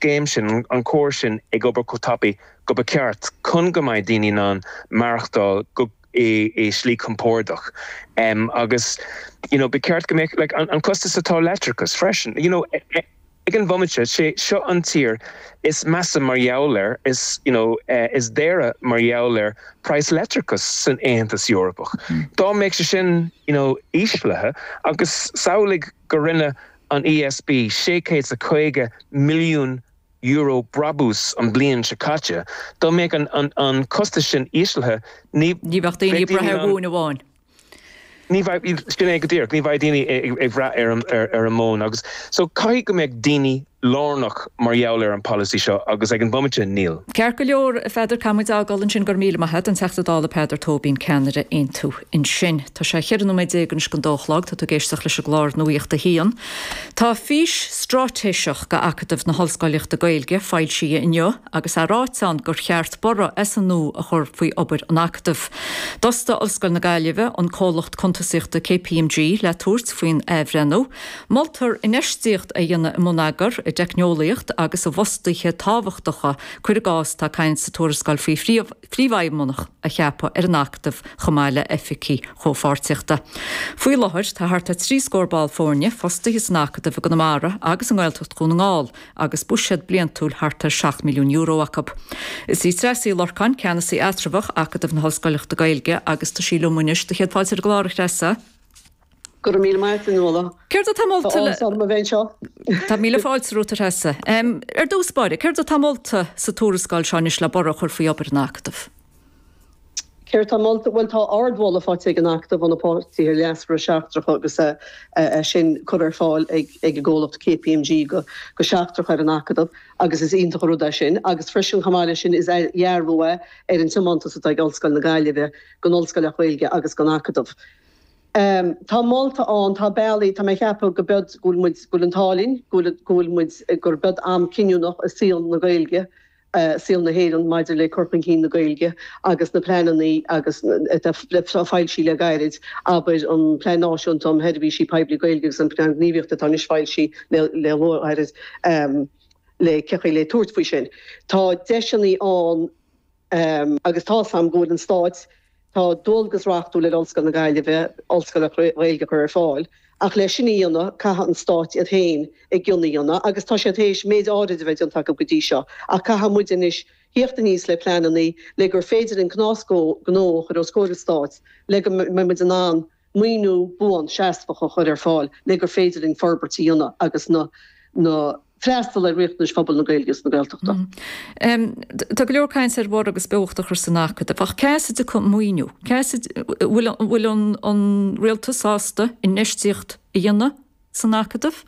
scéim sin, an córas sin ag obair chomh tapaidh go ba cheart chun go mbeidh daoine in ann maireachtáil go i slí compordach agus you know ba cheart go mbeadh like an costas atá leictreachas freisin you know ag an bhomaite sé seo an tír is measa mar gheall ar is you know is daoire mar gheall ar praghas leictreachas san Aontas Eorpach. Dá mbeadh sé sin you know íslithe agus samhlaigh go rinne an ESB €650 milliún brabús an bliain seo caite, dá mbeadh an costas sin íslithe ní Ní bheadh daoine ag brath ar mhóin amháin. Ní bheadh, sin é go díreach, ní bheadh daoine ag brath ar an móin agus so caithfidh go mbeadh daoine lárnach mar gheall ar an polasaí seo agus ag an bhomaite níl. Ceart go leor, a Pheadair, caithfidh muid a fhágáil ansin, go raibh míle maith agat, an Teachta Dála Peadar Tóibín, ceannaire Aontú ansin. Tá sé 14 nóiméad anois don dó a chlog, tá tú ag éisteacht leis an gclár Nuacht a hAon. Tá fís straitéiseach do Acadamh na hOllscolaíochta Gaeilge foilsithe inniu agus é ráite ann gur cheart borradh as an nua a chur faoi obair an Acadaimh. D'fhostaigh Ollscoil na Gaillimhe an comhlacht cuntasaíochta KPMG le tabhairt faoin athbhreithniú. Moltar infheistíocht a dhéanamh i mbonneagar, i dteicneolaíocht agus i bhfostaithe tábhachtacha, cuir i gcás, tá caint sa tuarascáil faoi phríomhfheidhmeannach a cheapadh ar an Acadamh chomh maith le oifigigh chomhpháirtíochta. Faoi láthair tá thart ar thrí scór ball foirne fostaithe san Acadamh i gConamara agus i nGaeltacht Dhún na nGall agus buiséad bliantúil thart ar €7 milliún acu. Is í Treasa Uí Lorcáin ceannasaí eatramhach Acadamh na hOllscoileachta Gaeilge agus tá sí liom anois. Do chéad fáilte ar an gclár, a Threasa. Go raibh míle maith agat, a Nuala. Céard atá molta le. Tá áthas orm a bheith anseo. Tá míle fáilte romhat, a Threasa. Ar dtús báire, céard atá molta sa tuarascáil seo anois le borradh a chur faoi obair an Acadaimh? Céard atá molta? Bhuel, tá ardmholadh faighte ag an Acadamh ó na páirtithe leasmhara seachtracha agus é sin curtha ar fáil ag an gcomhlacht KPMG go seachtrach ar an Acadamh agus is iontach an rud é sin. Agus freisin, chomh maith leis sin, is dearbhú é ar an tiomantas atá ag Ollscoil na Gaillimhe don Ollscoileacht Ghaeilge agus don Acadamh. Tá molta ann, tá bealaí, tá mé ag ceapadh go bead, go bhfuil muid, go bhfuil an t-ádh linn, go bhfuil, go bhfuil muid, gur bead am cinniúnach i saol na Gaeilge, saol na hÉireann maidir le cur chun cinn na Gaeilge agus na pleanannaí agus atá foilsithe le gairid, abair an Plean Náisiúnta um Sheirbhísí Poiblí Gaeilge agus an Plean Gníomhaíochta atá anois foilsithe le le gairid le cén chaoi le tabhairt faoi sin. Tá deiseannaí ann. Agus tá's a'm go bhfuil an Stáit, tá dualgas reachtúil ar Ollscoil na Gaillimhe Ollscoileacht Ghaeilge a chur ar fáil, ach le sin a dhéanamh caithfidh an Stáit iad féin a gcion a dhéanamh agus tá siad théis méid áirid a bheith déanta acu go dtí seo ach caithfidh muid anois thíocht aníos le pleanannaí le gur féidir linn cnás gnó a chur os comhair an Stáit le go mbeidh muid in ann maoiniú buan seasmhach a chur ar fáil le gur féidir linn forbairt a dhéanamh agus na na freastal ar riachtanais phobal na Gaeilge agus na Gaeltachta. Tá go leor cainte ar bhorradh agus beocht a chur san Acadamh, ach cá as a dtiocfaidh an maoiniú? Cá as a bhfuil bhfuil an an rialtas sásta infheistíocht a dhéanamh san Acadamh?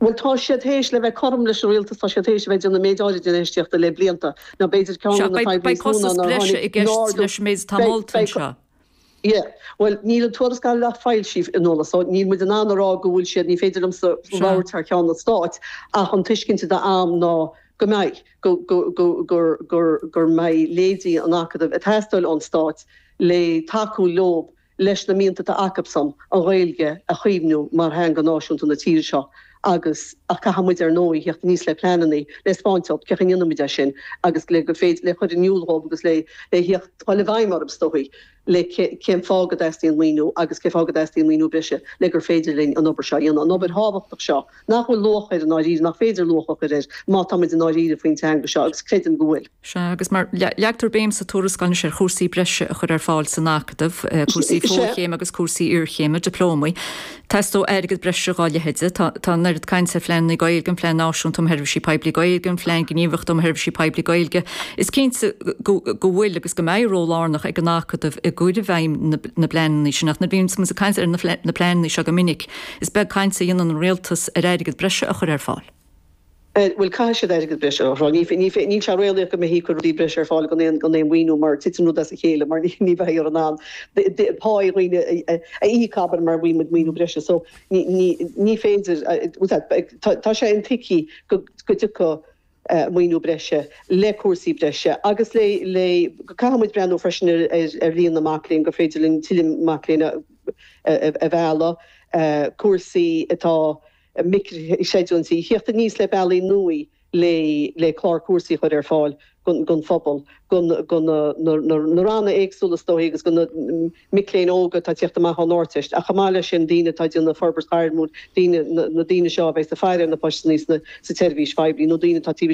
Bhuel, tá siad théis, le bheith cothrom leis an rialtas, tá siad théis a bheith ag déanamh méid áirid infheistíochta le blianta. Now b'fhéidir ceann de na fadhbanna Beidh is mó ná costas nár breise i tháinig gceist leis an méid atá Beidh, molta beidh, anseo. Yeah. Bhuel, níl an tuarascáil ach foilsithe, a Nuala, so níl muid in ann a rá go bhfuil siad, ní féidir liomsa labhairt thar ceann an Stáit, ach an tuiscint atá a'm ná go mbeidh, go, go, go, gur, gur, gur mbeidh leithéidí an Acadaimh ag teastáil ón Stát le tacú leob leis na mianta atá acubsan an Ghaeilge a chaomhnú mar theanga náisiúnta na tíre seo agus, ach caithfidh muid ar ndóigh theacht aníos le pleanannaí le 'spáint dóibh cén chaoi a ndéanfaidh muid é sin agus le gur féidir le chur in iúl dhóibh agus le le theacht dul i bhfeidhm orthu is dóigh le cén fáth go dteastaíonn maoiniú agus cén fáth go dteastaíonn maoiniú breise le gur féidir linn an obair seo a dhéanamh, an obair thábhachtach seo nach bhfuil luach air i ndáiríre, nach féidir luach a chur air má tá muid i ndáiríre faoin teanga seo agus creidim go bhfuil. Sea, agus mar, leagtar béim sa tuarascáil anois ar chúrsaí breise a chur ar fáil san Acadamh, cúrsaí fochéime agus cúrsaí iarchéime, dioplómaí. Teastóidh airgead breise dhá leithéide. Tá, tá an oiread cainte ar phleananna Gaeilge, an Plean Náisiúnta um Sheirbhísí Poiblí Gaeilge, an Phlean Gníomhaíochta um Sheirbhísí Poiblí Gaeilge. Is cinnte go, go bhfuil agus go mbeidh ról lárnach ag an Acadamh i gcur i bhfeidhm na, na bpleananna sin. Ach nuair a bhíonns muid ag caint ar na, na pleananna seo go minic, is beag caint a dhéanann an rialtas ar airgead breise a chur ar fáil. Bhuel, caithfidh siad airgead breise a chur ar fáil. Níl sé réalaíoch go mbeifí ag cur rudaí breise ar fáil gan aon gan aon mhaoiniú mar titeann rud as a chéile mar ní bheifear in ann pá dhaoine a íoc abair mura bhfaighidh muid maoiniú breise. So ní féidir, tá sé intuigthe go dtiocfaidh maoiniú breise le cúrsaí breise agus le le caithfidh muid breathnú freisin ar líon na mac léinn gur féidir linn tuilleadh mac léinn a mhealladh, cúrsaí atá. micrichreidiúintí, theacht aníos le bealaí nua le le clár cúrsaí a chur ar fáil don phobal, do na ranna éagsúla is dóichí agus do na mic léinn óga atá ag tíocht amach ón Ardteist ach chomh maith leis sin daoine atá ag déanamh forbairt ghairmiúil, daoine, na daoine seo a bheas ag faire ar na postanna sa tseirbhís phoiblí nó daoine atá taobh.